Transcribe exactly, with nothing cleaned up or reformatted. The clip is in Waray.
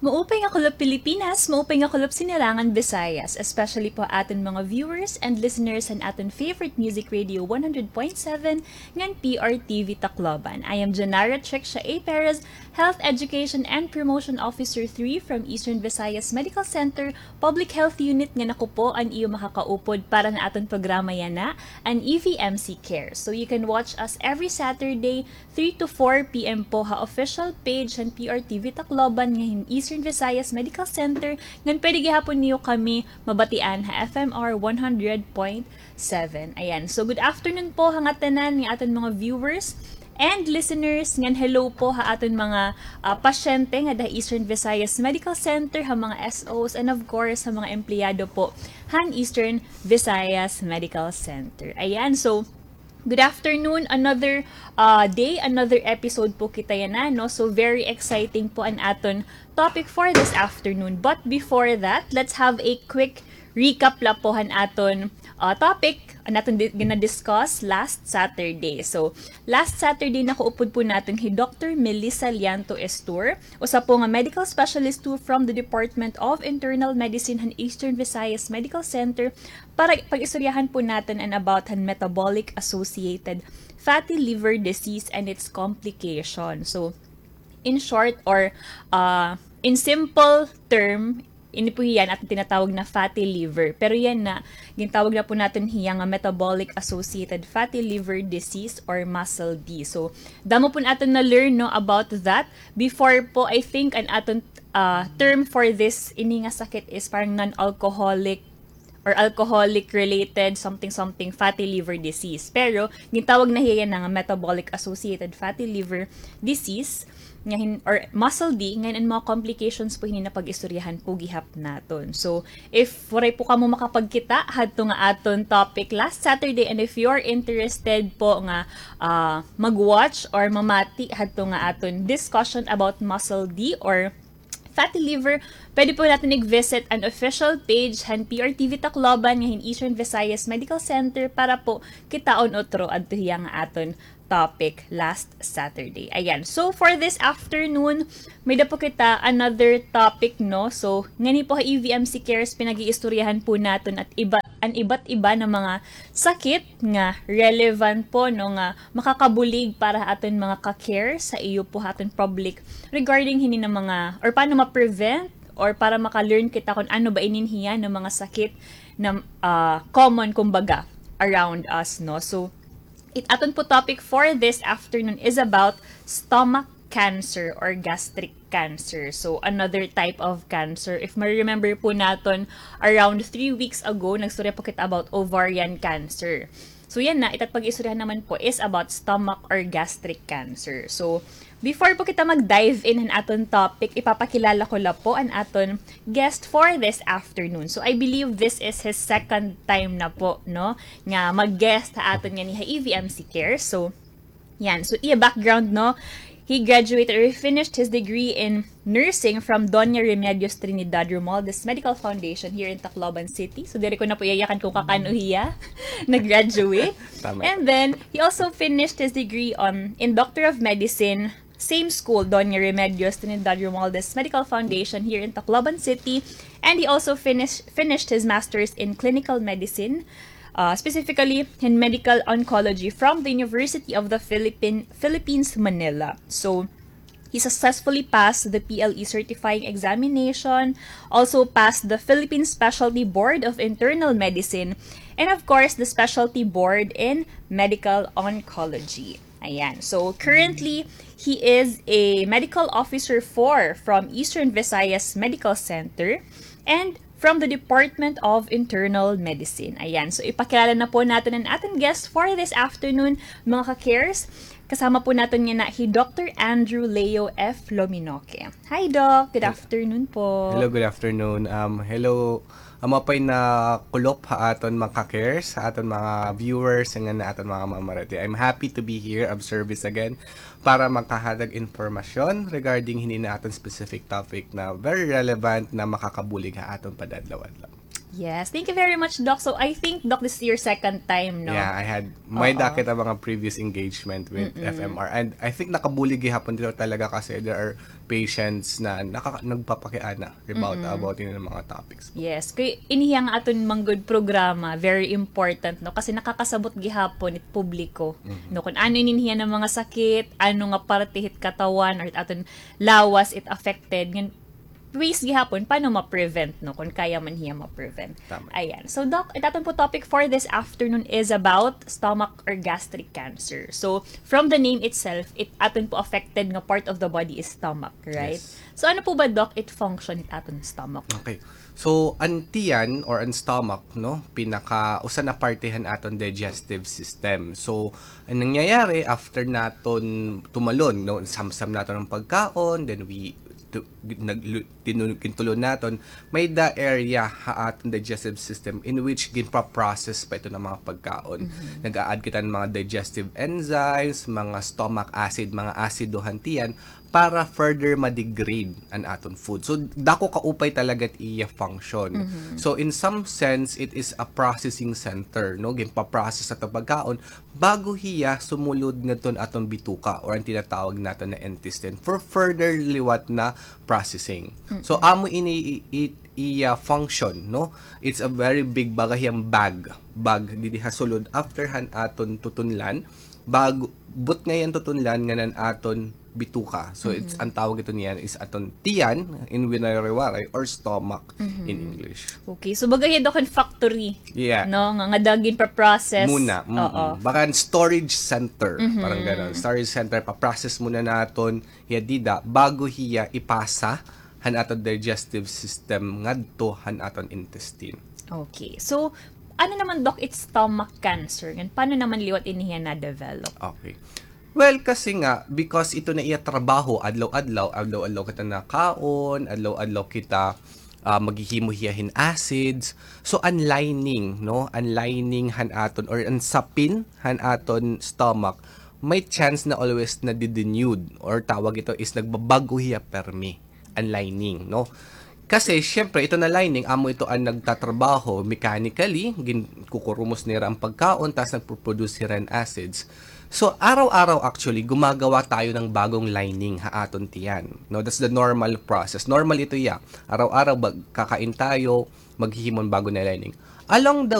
Maupay nga kulop Pilipinas, maupay nga kulop Sinirangan Visayas, especially po aton mga viewers and listeners han aton favorite music radio one hundred point seven ngan P R T V Tacloban. I am Janara Trixia A. Perez, Health Education and Promotion Officer three from Eastern Visayas Medical Center, Public Health Unit, ngan ako po an iyo makakaupod para han aton programa yana, an E V M C Cares. So you can watch us every Saturday three to four P M po ha official page han P R T V Tacloban nga hin Eastern Visayas Medical Center, ngan pwede gihapon niyo kami mabatian ha F M R one hundred point seven. Ayan. So, good afternoon po ha ngatanan nga aton mga viewers and listeners, ngan hello po ha aton mga, ah, pasyente nga da Eastern Visayas Medical Center, ha mga S Os, and of course, ha mga empleyado po han Eastern Visayas Medical Center. Ayan. So, good afternoon. Another, ah, day, another episode po kita yana, no? So, very exciting po an aton topic for this afternoon. But before that, let's have a quick recap la po han aton, ah, topic, an aton di-, gina-discuss last Saturday. So, last Saturday, nakakaupod po naton hi Doctor Melissa Lianto Estor, usa po nga medical specialist po from the Department of Internal Medicine han Eastern Visayas Medical Center, para pag-istoryahan po naton an about han metabolic associated fatty liver disease and its complication. So, in short or, ah, in simple term, ini po hiya an aton tinatawag na fatty liver. Pero yana, gintawag na po naton hiya nga metabolic associated fatty liver disease or MASLD. So, damo po an aton na-learn, no, about that. Before po, I think, an aton, ah, term for this, ini nga sakit is parang non-alcoholic or alcoholic-related something-something fatty liver disease. Pero, gintawag na hiya yana nga metabolic-associated fatty liver disease, nga hin-, or MASLD, ngan an mga complications po hini napag-istoryahan po gihap naton. So, if waray po kamo makapagkita hadto nga aton topic last Saturday, and if you're interested po nga, ah, mag-watch or mamati hadto nga aton discussion about MASLD or fatty liver, pwede po naton i-visit an official page han P R T V Tacloban nga hin Eastern Visayas Medical Center para po kitaon utro adto hiya nga aton topic last Saturday. Ayan. So, for this afternoon, may-ada po kita another topic, no? So, ngani po ha E V M C Cares, pinag-iistoryahan po naton at iba, an iba't iba na mga sakit nga relevant po, no, nga makakabulig para ha aton mga ka-cares, ha iyo po ha aton public regarding hini na mga, or paano ma-prevent, or para maka-learn kita kung ano ba inin hiya na mga sakit na, ah, common, kumbaga, around us, no? So, it, aton po topic for this afternoon is about stomach cancer or gastric cancer. So, another type of cancer. If ma-remember po naton, around three weeks ago, nagstorya po kita about ovarian cancer. So, yana, it at pag-istoryahan naman po is about stomach or gastric cancer. So, before po kita mag-dive in han aton topic, ipapakilala ko la po an aton guest for this afternoon. So, I believe this is his second time na po, no, nga mag-guest ha aton ngani ha E V M C Cares. So, yan. So, iya background, no? He graduated or he finished his degree in nursing from Doña Remedios Trinidad Romualdez Medical Foundation here in Tacloban City. So, diri ko na po iyayakan kung kakano hiya nag-graduate. Tama. And then, he also finished his degree on, in Doctor of Medicine, same school, Doña Remedios Trinidad Romualdez Medical Foundation here in Tacloban City. And he also finished, finished his master's in clinical medicine, uh, specifically in medical oncology from the University of the Philippine, Philippines, Manila. So, he successfully passed the P L E certifying examination, also passed the Philippine Specialty Board of Internal Medicine, and of course, the Specialty Board in Medical Oncology. Ayan. So, currently, he is a medical officer four from Eastern Visayas Medical Center and from the Department of Internal Medicine. Ayan. So, ipakilala na po naton an aton guest for this afternoon, mga ka-cares. Kasama po naton yana hi Doctor Andrew Leo F. Lominoque. Hi, Doc. Good afternoon po. Hello, good afternoon. Um, hello, amo pay na kulop ha aton mga ka-cares, ha aton mga viewers, ngan ha aton mga mamamarati. I'm happy to be here of service again para makahatag impormasyon regarding hini na aton specific topic na very relevant na makakabulig ha aton pad-adlaw-adlaw. Yes, thank you very much, Doc. So, I think, Doc, this is your second time, no? Yeah, I had, may-ada kita mga previous engagement with F M R. And I think nakabulig gihapon dito talaga kasi there are patients na nakaka-, nagpapakiana about, about yun ng mga topics. Yes, kay ini hiya nga aton man gud programa, very important, no? Kasi nakakasabot gihapon it publiko, no? Kung ano ini hiya nga mga sakit, ano nga parte hit katawan or aton lawas it affected, ngan ways gihapon paano ma-prevent, no? Kung kaya man hiya ma-prevent. Tama. Ayan. So, Doc, it aton po topic for this afternoon is about stomach or gastric cancer. So, from the name itself, it aton po affected nga part of the body is stomach, right? Yes. So, ano po ba, Doc, it function it aton stomach? Okay. So, an tiyan or an stomach, no, pinaka usa na parte han aton digestive system. So, an nangyayari after naton tumalon, no, samsam naton an pagkaon, then we tu, nag, lu, tinu, gintulon naton, may-ada area ha aton digestive system in which ginpa-process pa ito nga mga pagkaon. Nag-a-add kita hin mga digestive enzymes, mga stomach acid, mga asido han tiyan, para further ma-degrade an aton food. So, dako kaupay talaga it iya function. So, in some sense, it is a processing center, no? Ginpa-process aton pagkaon bago hiya sumulod ngadto han aton bituka or an tinatawag naton na intestine for further liwat na processing. So, amo ini i, i, iya function, no? It's a very big, baga hiyang bag. Bag, didi ha sulod after han aton tutunlan. Bag, butnga hiya han tutunlan ngan an aton bituka. So, it's, an tawag ito niyan is aton tiyan in Waray-Waray or stomach in English. Okay, so baga hiya, Doc, an factory. Yeah. No, nga, nga daw ginpa-process. Muna. Mm-mm. Oo. Baga an storage center. Parang ganon. Storage center, pa-process muna naton hiya dida bago hiya ipasa han aton digestive system ngadto han aton intestine. Okay. So, ano naman, Doc, it stomach cancer? Ngan paano naman liwat ini hiya na-develop? Okay. Well, kasi nga, because ito na iya trabaho, adlaw-adlaw, adlaw-adlaw kita nakaon, adlaw-adlaw kita, ah, maghihimo hiya hin acids. So, an lining, no? An lining han aton, or an sapin han aton stomach, may chance na always nadidenude, or tawag ito is nagbabag-o hiya permi, an lining, no? Kasi, syempre, ito na lining, amo ito an nagtatrabaho mechanically, ginkukurumos nira an pagkaon, tas nagpo-produce hira hin acids. So, araw-araw actually, gumagawa tayo ng bagong lining ha aton tiyan. No, that's the normal process. Normal ito, ya. Araw-araw, bag-, kakain tayo, maghihimo hin bago na lining. Along the